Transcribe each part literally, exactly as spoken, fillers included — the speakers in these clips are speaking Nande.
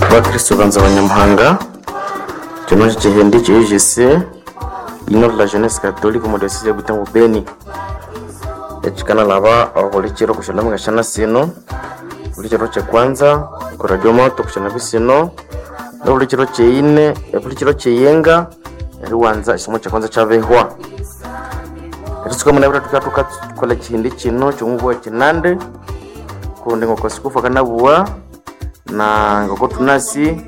Bakristo banza Abanyamuhanga, kino kyekihindi kye U G C l'Union de la Jeunesse Catholique omo diocese ya Butembo Beni, ekikanalhaba obuli kiro kusyanambi ngasyana sino, buli kiro kyekwanza oko radio moto kusyanambi sino, nobuli kiro kyeyine obuli kiro kyeyenga eriwanza ekisomo kyekwanza kyabihwa. Eritsuka munabwire thukabya thukakolha ekihindi kino kyomubugha kinande kundi ngoko sikufu akanabugha na ngoko thunasi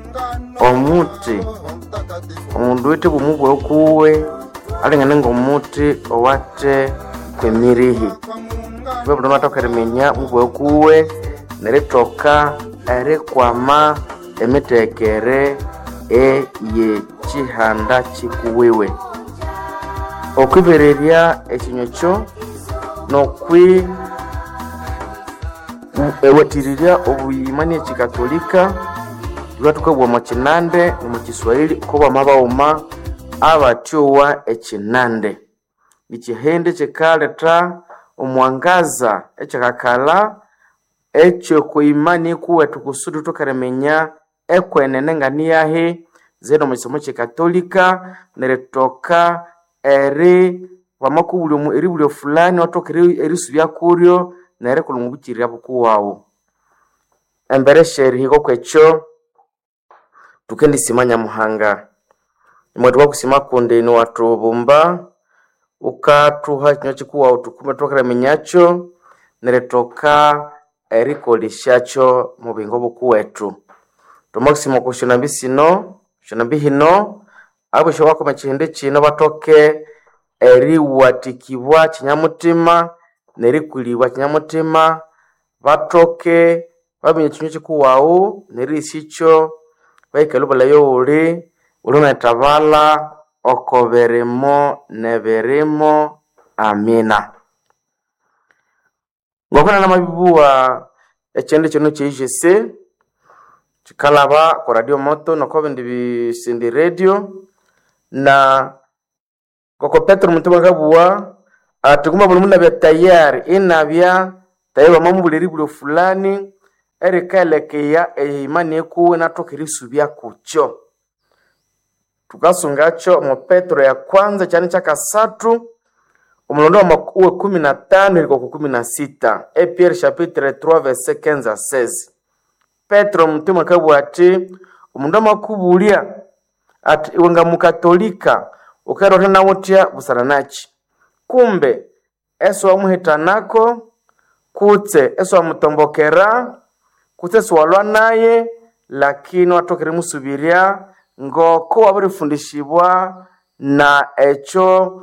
omuthi omundu owithe bwomubughe kuwe alingane ngomuthi owathe kwemirihi. Thube mundu amathoka eriminya mubughe kuwe nerithoka erikwama emitekere eyekyihanda kyikuwiwe. Okwibererya ekinywa ekyo nokwi ewathirirya obuyimani ekyikatolika thulhwe thukabugha omwa kinande nomwa kiswahili kobamabaghuma abathyowa ekinande. Ekyihindi kyikaletha omwangaza ekyikakalha ekyokwimani kuwethu kusudi thuthoke eriminya ekwenene nganiyahi zeni omwa kisomo kyekatolika nerithoka eri wamakubulya eribulya fulani iwathoka erisubya kuryo nerikolha omwa bukuwawu. Embere syerihika okwekyo thukendisima Nyamuhanga. Imwe thukakusima kundi niwathubumba wukathuha ekinywa kikuwawu thukume thuthoke eriminyakyo nerithoka erikolesyakyo omo buyingo bukuwethu. Thwamakusima okwa syonambi sino syonambi hino abosyo bakoma ekihindi kino bathoke eriwathikibwa kinyamuthima nerikulibwa kinyamuthima bathoke baminya ekinywa kikuwawu nerihisikyo bahikalhe obulhayi owuli wulinethabalha oko birimo nebirimo. Amina. Ngoko namabibugha ekyindi kino kye U G C kyikalhaba oko radio moto noko bindi bisindi radio na ngoko Petero muthuma akabugha athi kumbe buli mundu inabya tayari inabya tayari wamamubulya eribulyo fulani erikaelekeya eimani ikuwe inathoka erisubya kukyo. Thukasungakyo omo Petero ya kwanza ekyanda kyakasathu omulondo wekumi na tano erihika okwa kumi na sita. E Pierre chapitre trois verset quinze à seize. Petero muthuma akabugha athi omundu amakubulya athi iwe ngamukatolika wukerotha nawuthya busana nakyi? Kumbe esiwamuhitanako kutse esiwamutombokera kutse esiwalwa naye lakini iwathoka erimusubirya ngoko wabirifundishibwa na ekyo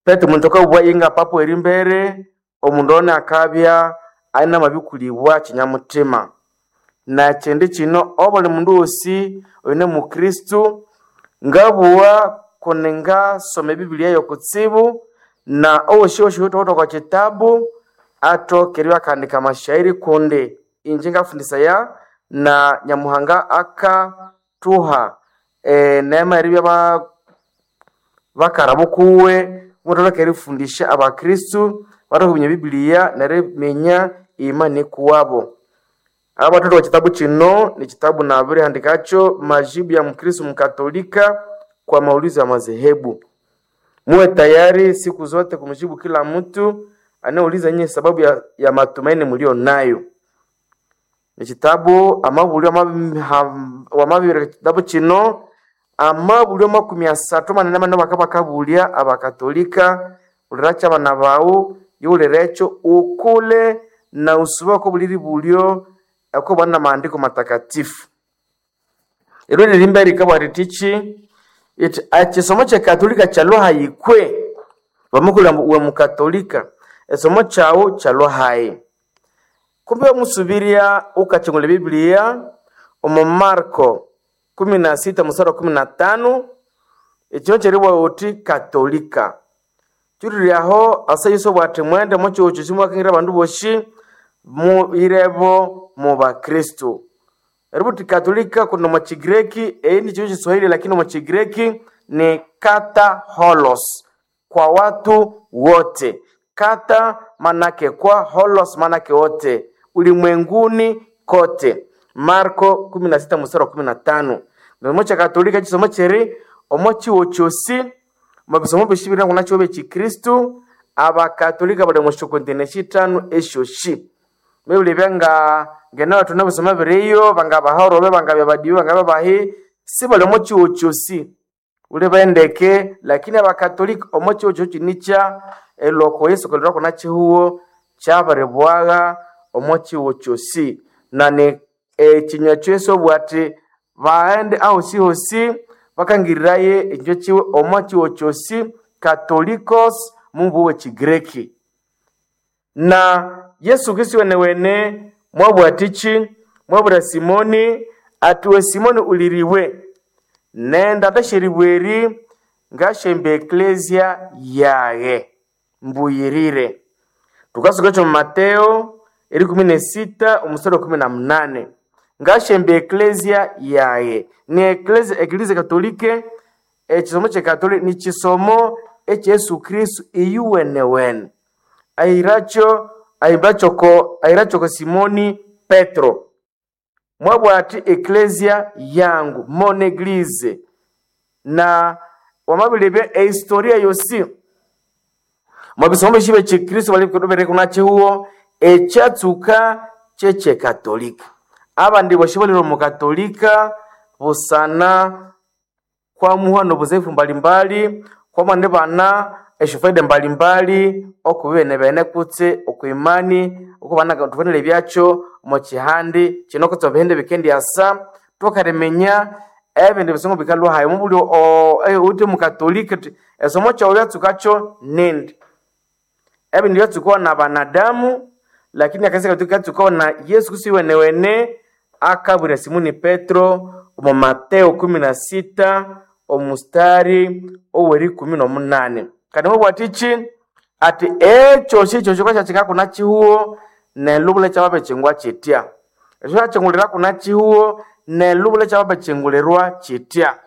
Petero muntu akabugha inga papa werimbere omundu ono akabya inamabikulibwa kinyamuthima. Nekyindi kino obuli mundu wosi oyune mukristu ngabugha kundi ngasoma ebibiliya yokutsibu na owosyowosi oyuthawithe okwa kitabu athoke eribya akahandika amashairi kundi inje ngafundisaya na Nyamuhanga akathuha eneema eribya bakara bukuwe muthoke erifundisha abakristu bathoke eriminya ebibiliya neriminya imani kuwabo. Abathathu kitabu kino ni kitabu nabirihandikakyo majibu ya mkristu mkatolika kwa maulizo ya madhehebu. Muwe tayari siku zote kumjibu kila mtu anayeuliza nyinyi sababu ya, ya matumaini mlio nayo. Ni kitabu amabulyo wamabibireka kitabu kino amabulyo makumi asathu manene manene bakabakabulya abakatolika uliracha abana bawu yiwulirekyo ukule na usube oko buli ribulyo oko bana maandiko matakatifu. Ero lirimba rikabwa ritichi iti ekisomo kyekatolika kyalwa hayikwe bamukulya we mukatolika esomo kyawu kyalwa hayi. Kumbe wamusubirya wukakyungulha ebibiliya omu Marko kumi na sita musara wa kumi na tano ekino kyeribugha wuthi katolika. Kyuliryaho asa Yesu obugha athi mwende omo kihugho kyosi mwakangira abandu bosi muyirebo mu bakristo. Eributhi katolika kundi omo Kigireki eyi ni kino Kiswahili lakini omo Kigireki ni kata holos, kwa watu wote. Kata manake kwa, holos manake wote, ulimwenguni kote. Marko kumi na sita mstari wa kumi na tano. Nomo cha Katolika chisomo cheri omo chiwo chosi mabisomo bishibiri na kunacho bechi Kristu abakatolika bali mu kontine shitano eshoshi mebuli byanga ngena watu nabisoma biriyo banga bahorobe banga byabadiwe banga babahi si bali omo chiwo chosi ule baendeke, lakini abakatolika omo chiwo chochi nicha eloko Yesu kalira kuna chihuo kyabaribwaga omo chiwo chosi na ni ekinywa kyesu obwati baende ahosi hosi bakangiriraye ekinywa kiwe omo chiwo chosi katolikos mumbu w'ekigreki. Na Yesu Kristo wene wene mwabwatichi mwabura Simoni atiwe Simoni uliriwe nenda tasheribweri ngashembe eklesia yaye mbuyirire. Tukasuka cho Mateo eri kumi na sita omstari wa kumi na mnane ngashembe eklesia yaye ni eklesia eklezia katolike ekisomo kye katolika ni kisomo ekya Yesu Kristo iyuwenewene ahiracho ahimbacho ahirachoko Simoni Petro mwabwati eklesia yangu mon eglise na wamabilibya ehistoria yosi mwabisomo bishibe chikristo balikudobereka nachihuo ekyatsuka kyekye-katolika abandi boshi balire omu katolika busana kwamuha nobuzefu mbalimbali kwamwandi bana esyofaida mbalimbali okubibene bene kutse okwimani okubana tufanire byakyo omu kihandi kino kutse ebihindi bikendyasa tukariminya ebindi bisomo bikalwa hayi mubuli uti mukatolika uthi esomo kyawu byatsukakyo nindi ebindi byatsukawa na banadamu lakini akanisa katolika katsukawa na Yesu Kristo iwenewene akabwira Simoni Petro omu Mateo kumi na sita omustari ow'erikumi n'omunane kandi mubwati iki ati ekyosi ekyo kyakika kuna chihuo nelubula kyababechingwa kitya ekyo kyachingulira kuna chihuo nelubula kyababechingulirwa kitya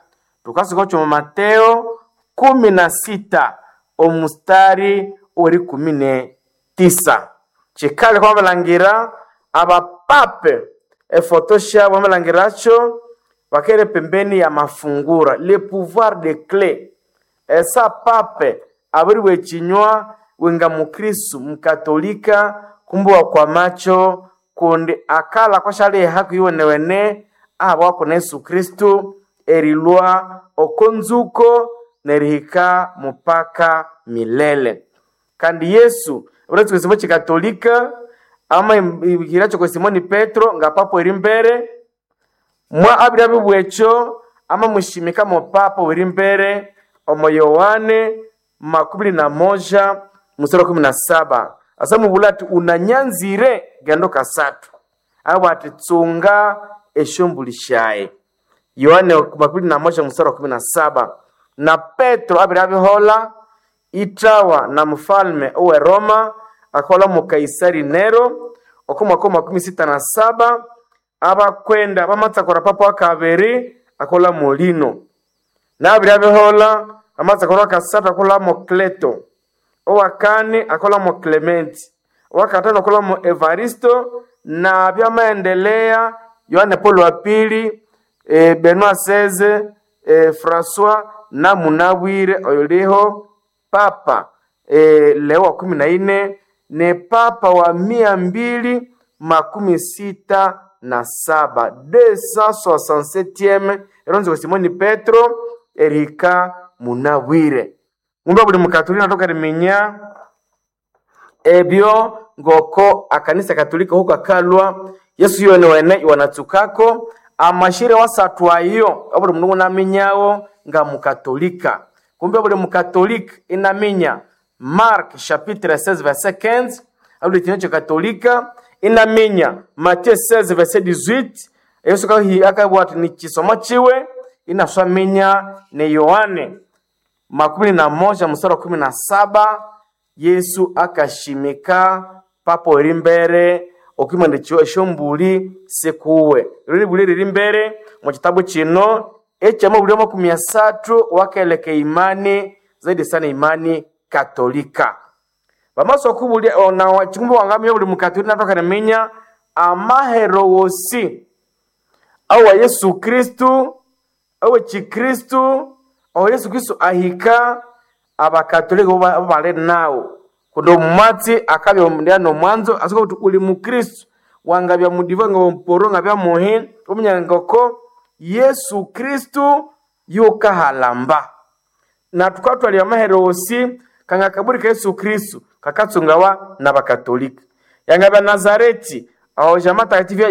tukasuka kyo mu Mateo kumi na sita omustari ow'erikumi ne tisa kikali kwabalangira abapape efoto syabo bamalangiracho bakere pembeni ya mafungura le pouvoir de clé esa pape abiriwa ekinywa wenga mukristu mukatolika kumbuwa kwa macho kundi akala kwashaliha kuiwenewene ahabwako na Yesu Kristu erilwa okonzuko nerihika mupaka milele kandi Yesu abiratsuka ekisomo kikatolika ama ihiracho kwa Simoni Petro nga papo eri mbere mwa abiri abibwekyo ama mushimika mo papa weri mbere omo Yohane makumi na moja mstari wa kumi na saba asa mubula ati unanyanzire gendo kasatu abo ati tsunga esyombuli syaye Yohane makumi na moja mstari wa kumi na saba na Petro abiri abihola itawa na mfalme owe Roma akola mu Kaisari Nero oko mwaka wa makumi sita na saba abakwenda bamatsakora papa wa kabiri akola molino nabiri abihola amatsakora kasatu akola mo Kleto owakane akola mo Clementi owakatano akola mo Evaristo na byamaendelea Yohane Paulo wa pili e, Benoit seize e, Francois na munabwire oyuliho papa e, Leo wa kumi na nne ni papa wa mia mbili makumi sita na saba deux cent soixante-septième eronzi wa Simoni Petro erika munabwire ngumba buli mukatolika natoka riminya ebyo ngoko akanisa katolika huko akalwa Yesu yone wene iwanatsukako amashire wasatu ayo abuli mundu namenyawo nga mukatolika kumbe buli mukatolika inaminya Mark chapitre seize verset quinze abuli kinyo katolika inaminya Matthieu seize verset dix-huit Yesu kahi akabwa ati ni kisomo chiwe inaswaminya ni Yohane makumi na moja mstari wa kumi na saba Yesu akashimika papo eri mbere okwimandikiwa esyombuli sikuwe riri buli riri mbere mu kitabu kino ekyamabuli makumi asathu wakeleka imani zaidi sana imani katolika bamaso okubulya ona chikumbi wangamya buli mukatolika natoka riminya amahero wosi awa Yesu Kristu awe Chikristu aho Yesu Kristu ahika abakatolika bo bali nawo kundi omumatsi akabya nomwanzo asuka kuti uli mukristu wangabya mudiva nga mporo ngabya muhi omunyangoko Yesu Kristu yukahalamba na tukatwalya amahere osi kanga kaburi ka Yesu Kristu kakatsungawa na bakatolika yangabya Nazareti aho jama takatifu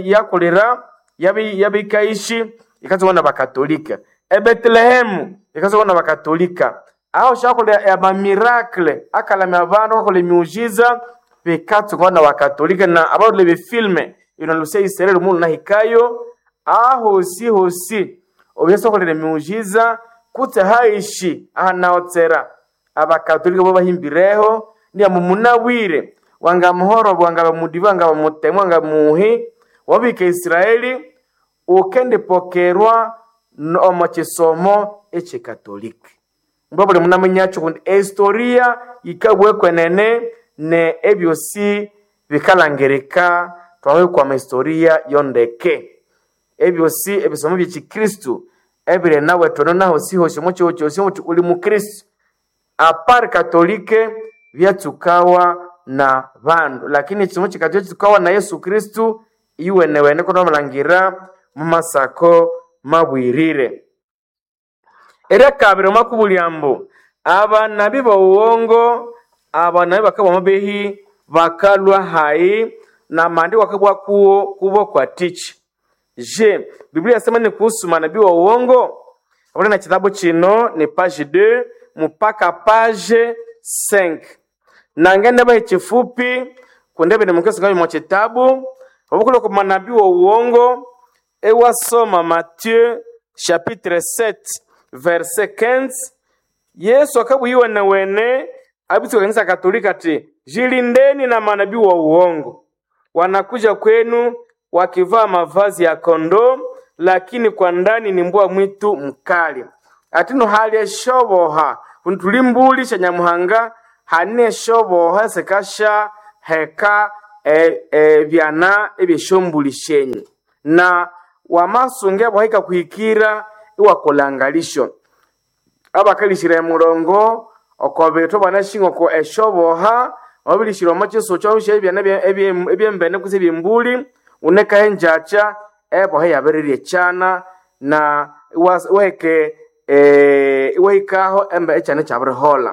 yakolera yabikaishi ikatsungwa na bakatolika ebetelehemu ikatsungwa na bakatolika aho shakolera amamirakle akalamya abandu akakola emiujiza bikatsungwa na bakatolika na abalole befilme ino lusia Israeli mulu nahikayo ahosi hosi obu akolera emiujiza kutse haishi ahanaotsera abakatolika bo bahimbireho ndiamu munabwire wanga muhoro wanga mudiva wanga mutemu wanga muhi wabika Israeli ukendipokerwa omo kisomo echikatolika mbwa buli munamenyacho kundi ehistoria yikabwekwenene ne ebyosi bikalangirika twawekwama historia yondeke ebyosi ebisomo byekikristu ebiri nawe tono naho sihosi omo kyoho kyosi omuti uli mukristu apari katolike byatsukawa na bandu lakini ekisomo kikatolika kitsukawa na Yesu Kristu iwenewene konomulangira mumasako mabwirire eryakabiri omakubulya mbu abanabi b'owuwongo abanabi bakabwa mabehi bakalwa hayi na maandiko akabwa kuwo kubo kwa tichi je Biblia yasema ni kuhusu manabii wa uongo abona na kitabu chino ni page deux mpaka page cinq nangende bahe chifupi kundebe ni mukristo ngabi mwa kitabu obukule ku manabii wa uongo ewasoma Matthieu chapitre sept verset quinze Yesu akabwiwe wene abitsi kanisa Katolika ati jilindeni na manabii wa uongo wanakuja kwenu wakivaa mavazi ya kondoo lakini kwa ndani ni mbwa mwitu mkali atino hali eshoboha kundi mbuli sha nyamuhanga hane eshoboha sekasha heka e, e, byana ebyeshombuli shenyu na wamasunge bwahika kuhikira iwakolangalisho abakalishira emurongo oko bithu banashinga oko eshoboha wabilishira omo chiso kyobisha ebyana ebyembene kutse ebyembuli unekahe enjacha eboha yabirirya ekyana na iwaheke iwahikaho embe ekyana ekyabirihola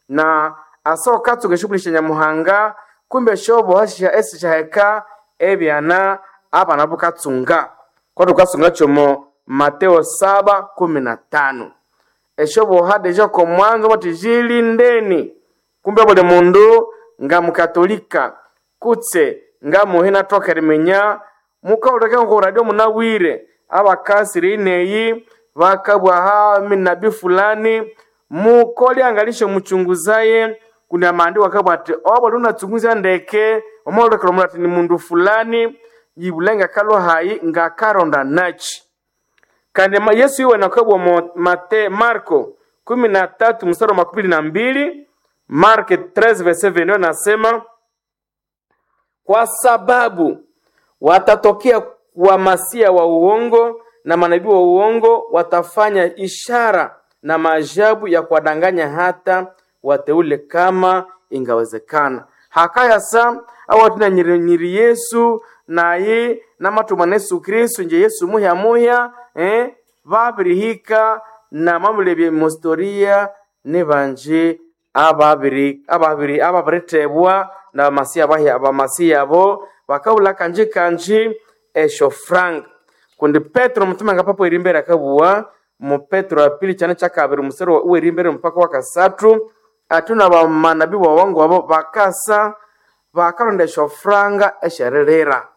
na asa ukatsuka eshughuli sya nyamuhanga kumbe esyoboha esisyaheka ebyana abana bukatsunga kwati ukatsunga kyomo Mateo saba kumi na tano esyoboha deja komwanzo bati jilindeni kumbe buli mundu nga mukatolika kutse nga muhi nathoka eriminya mukahuleka nko radio munabwire abakasiri ineyi bakabwaha minabi fulani mukolyangalisho muchunguzaye kundi amandi wakabwa ati obo lunachunguza ndeke omolekera omundu ati ni mundu fulani yibulenga kalwa hayi ngakaronda nachi kandi Yesu iwe nakabwa mo Mate Marko kumi na tatu mstari wa makumi na mbili Marko treize verset vingt nasema kwa sababu watatokea wa masia wa uongo na manabii wa uongo watafanya ishara na maajabu ya kuwadanganya hata wateule kama ingawezekana hakaya sa awatina nyiri, nyiri Yesu naye namatuma na Yesu Kristu nje Yesu muhya muhya eh, babirihika na mamulebye mustoria ni banje ababiri ababiri ababiritebwa na bamasiya bahya abamasiya abo bakabula kanji kanji esho frank kundi Petro mutume nga papo eri mbere akabuwa mu Petro wa pili chane chakabiri musero uweri mbere mpaka wa kasatu atuna bamanabi bawongo abo bakasa bakalonda esho franga eshererera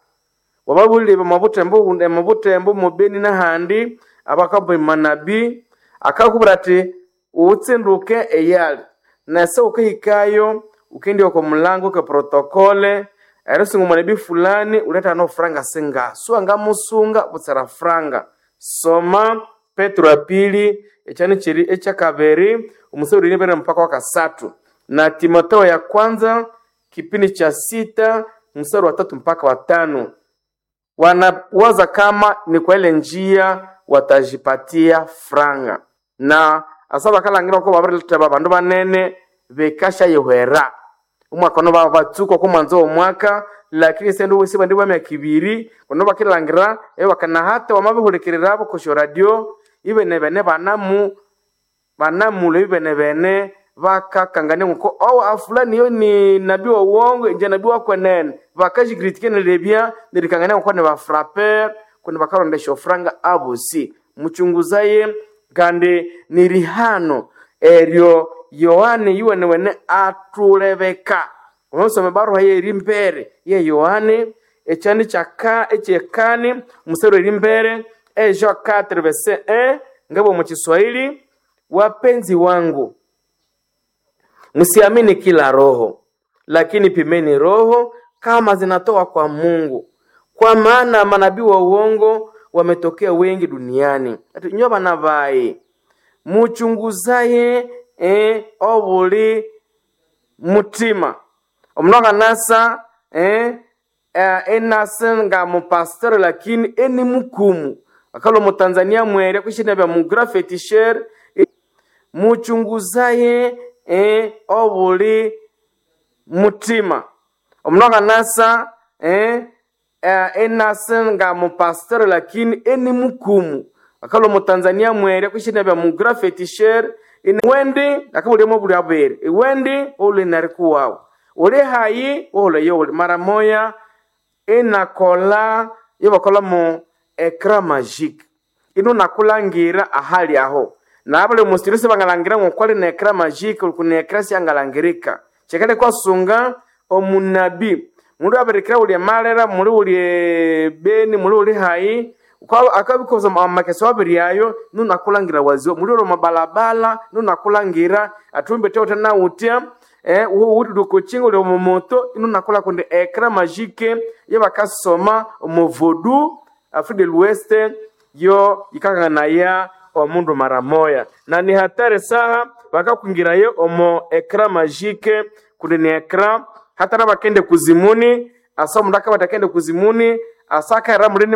wababulire mabutembo mabutembo mubeni n'ahandi abakaba manabi akakubwira ati utsinduke eyali nase ukahikayo ukindi oko mulango ke protokole erisinga omunabi fulani uleta no franga singa suanga musunga butsera franga soma Petro ya pili ekyani kiri ekyakabiri omusoro iri mpaka wakasatu na Timotheo ya kwanza kipindi cha sita mstari wa tatu mpaka wa tano Wanawaza kama ni kwa ile njia watajipatia franga na asa bakalangira ko babiriletheba bandu banene bekashayihwera omwaka ono babatsuka oko mwanzo w'omwaka lakini sende wesi bandi bwa myaka ibiri kuno bakilangira ebakanahata wamabihulikirira kosyo radio ibene bene banamu banamula ibene bene bakakangania nguko owo afulani yo ni nabii wa uongo inje nabii wa kwenene bakajikritike nelebya nerikangania nguko ni bafraper kundi bakarondesha ofranga abosi muchunguzaye kandi ni rihano eryo Yohane yuwenewene atulebeka omusoma ebaruha ye eri mbere ye Yohane ekyani kyaka ekyekani omusero eri mbere e Jean quatre verset un ngabo mu Kiswahili wapenzi wangu msiamini kila roho lakini pimeni roho kama zinatoka kwa Mungu kwa maana manabii wa uongo wametokea wengi duniani ati nyo bana bayi muchunguzaye eh, obuli mutima omundu akanasa eh, eh, enasa nga mupasiteri lakini eni mukumu akalo mutanzania mwere kwishina bya mugra fetisher muchunguzaye eh, obuli mutima omundu akanasa eh, eh, enasa nga mupasiteri lakini eni mukumu akalo mutanzania mwere kwishina bya mugra fetisher iwendi akabulimo buli abere iwendi uli narikuwawo uli hayi wohuleyo uli mara moya inakola yobakola mu ecran magique ino nakulangira ahali aho nabuli musiri sibangalangira ngokwali na ecran magique uli kuna ecran syangalangirika kyekale kwasunga omunabi mundu abirikira uli emalera muli uli beni muli uli hayi akabikoza amakeso abiri ayo nunakulangira waziwa muli uli mabalabala nunakulangira atumbe teute nautya eh, uwuti uli omumoto inunakula kundi ecran magique yebakasoma omuvodu Afrique de l'Ouest yo yikakanganaya omundu mara moya na ni hatari saha bakakwingirayo omo ecran magique kundi ni ecran hata nabakende kuzimuni asa omundu akabatakende kuzimuni asa akaira mulini